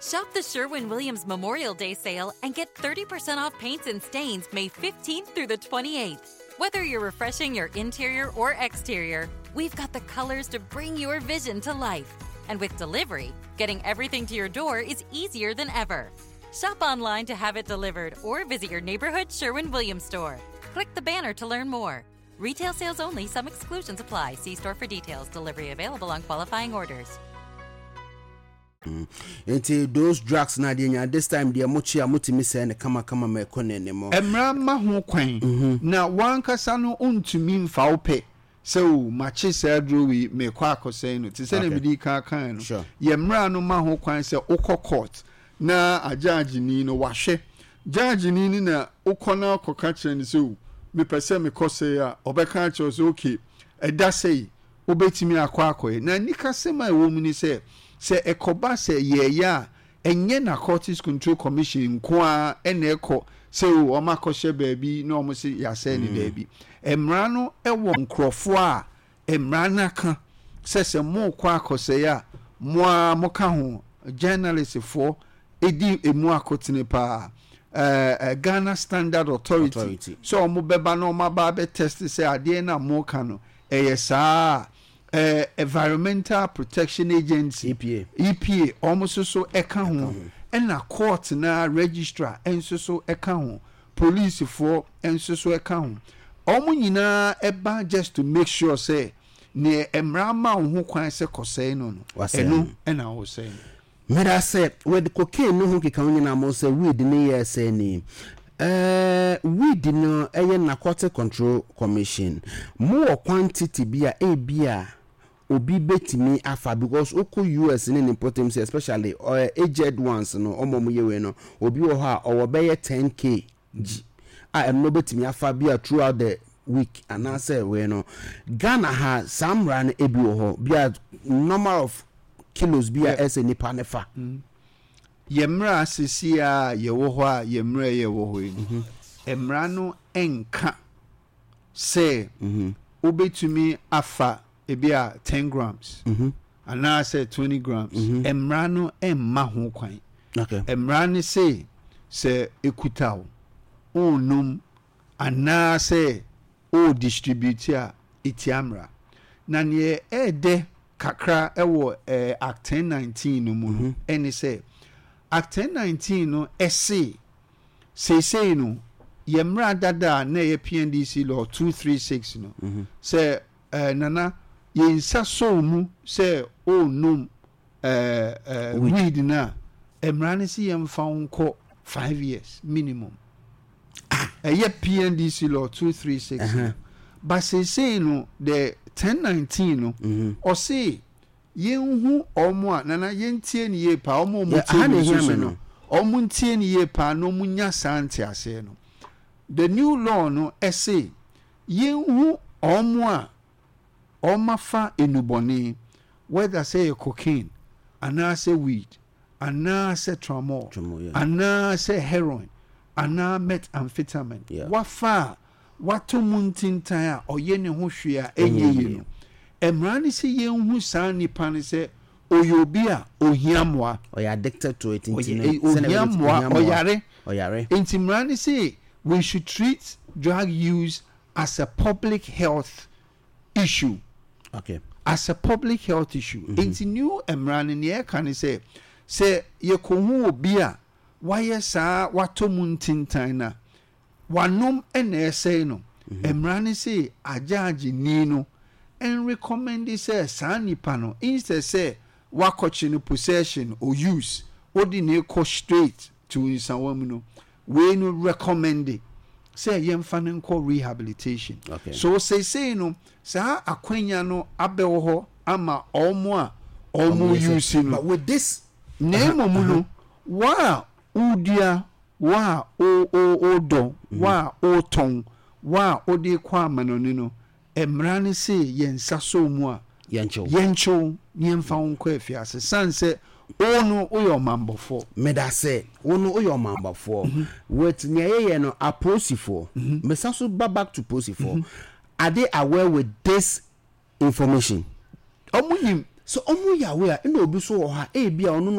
Shop the Sherwin Williams Memorial Day sale and get 30% off paints and stains May 15th through the 28th. Whether you're refreshing your interior or exterior, we've got the colors to bring your vision to life. And with delivery, getting everything to your door is easier than ever. Shop online to have it delivered or visit your neighborhood Sherwin Williams store. Click the banner to learn more. Retail sales only, some exclusions apply. See store for details. Delivery available on qualifying orders. Nti those drugs na deɛ nya this time deɛ mo kye a motumi sɛe no kamakama ma ɛkɔ n'anim. Mmara mma ho kwan, na w'ankasa no wontumi mfa wo pɛ sɛ o makye saa aduro wei merekɔ akɔsɛe no. Te sɛdeɛ medii kan kaeɛ no, yɛn mmara no ma ho kwan sɛ wokɔ court na agyaagyeni no wahwɛ. Gyaagyeni no na wokɔ na wokɔka kyerɛ no sɛ o mepɛ sɛ mekɔsɛe a, ɔbɛka akyerɛ wo sɛ okay ɛda sɛi wobɛtumi akɔ akɔyɛ. Na anikasɛm a ɛwɔ mu ne sɛ, sɛ ɛkɔba sɛ yɛreyɛ a, ɛnyɛ Narcotics Control Commission nko ara na ɛkɔ sɛ o wɔakɔhyɛ baabi na wɔse yɛasɛe no, daabi. Mmara no wɔ nkurɔfoɔ a mmara no aka sɛ sɛ morekɔ akɔsɛe a, mo ara moka ho, journalistfoɔ di ɛmu akotene pa ara, Ghana Standard Authority sɛ wɔbɛba na wɔaba abɛ test sɛ adeɛ no a moreka no ɛyɛ saa a, Environmental Protection Agency, EPA, EPA, wɔn nso so ka ho, ɛna court no ara registrar nso so ka ho, policefoɔ nso so ka ho. Wɔn nyinaa ba just to make sure sɛ neɛ mmara ma wo ho kwan sɛ kɔsɛe no no, Wasɛe ɛno no. na wosɛe no. Medase with cocaine no ho keka ho nyinaa mo sɛ weed no yɛ sɛ ni eh weed no ɛyɛ narcotic control commission mo wɔ quantity bi a ebia obi betumi afa because wokɔ US ne ne mpɔtam sɛ especially eh, aged ones no ɔmo ɔmo yɛ wei no obi wɔ hɔ a ɔwɔ bɛyɛ 10K gyi a ɛno no obetumi afa bi a throughout the week anaasɛ wei no Ghana ha saa mmara no ebi wɔ hɔ bi a number of kilos bi a ɛsɛ nipa ne fa. Yɛ mmara seesei a yɛwɔ hɔ a yɛ mmara yi a ɛwɔ hɔ yi no, mmara no nka sɛ wobɛtumi afa ebi a 10 grams anaasɛ 20 grams. Mmara no mma ho kwan. Mmara no se sɛ ekuta wo, wonnom anaasɛ o distribute a, etia mmara. Na neɛ ɛɛdɛ kakra wɔ Act 1019 no mu no ɛne sɛ, Act 1019 no ɛse seesei no yɛ mmara dada a na ɛyɛ PNDC Law 236 no, sɛ Nana yɛn nsa sɔ wo mu sɛ ɔrenom weed no a, mmara no se yɛmfa wo nkɔ 5 years minimum. Ɛyɛ PNDC Law 236 no, but seesei no the 1019 no ɔse yɛnhu ɔmo a, Nana, yɛntie no yie paa, ɔmo a ɔmo tie me nso so no, ɔmo ntie no yie paa na ɔmo nya saa nteaseɛ no. The new law no ɛse yɛnhu ɔmo a ɔmo afa nnubɔne, whether sɛ yɛ cocaine anaasɛ weed anaasɛ tramol anaasɛ heroin anaa methamphetamine, wafa a watɔ mu ntintan a ɔyɛ ne ho hwee a ɛnyɛ yie no, mmara no sɛ yɛnhu saa nipa no sɛ ɔyɛ obi a ohia mmoa. Ɔyɛ addicted to it nti no. Ohia mmoa, ɔyare. Ɔyare. Nti mmara no sɛ we should treat drug use as a public health issue. As a public health issue. Nti new mmara no nea ɛka ne sɛ yɛkɔhu obi a wayɛ saa, watɔ mu ntintan na wanom ɛna ɛsɛe no, mmara no sɛ agyaagye ni no nrecommend sɛ saa nipa no, instead sɛ wakɔkye no possession or use, wode ne kɔ straight to nsawa mu no, wei no recommend sɛ yɛmfa no nkɔ rehabilitation. So seesei no saa akwanya no abɛwɔ hɔ ama ɔmo a ɔmo use no. But with this Na mmom no, wo a wodua, wo a wodɔ, wo a wotɔn, wo a wode kɔ amanɔne no, mmara no se yɛn nsa sɔ mu a, yɛnkyew. Yɛnkyew na yɛmfa wo nkɔ afiase sane sɛ wo no woyɛ ɔmanbɔfoɔ. Meda sɛ wo no woyɛ ɔmanbɔfoɔ. With nea yɛyɛ no apolisifoɔ, mesa so ba back to polisifoɔ, are they aware with this information? Ɔmo nim. Sɛ ɔmo yɛ aware a, ɛna obi so wɔ hɔ a ebi a ɔno no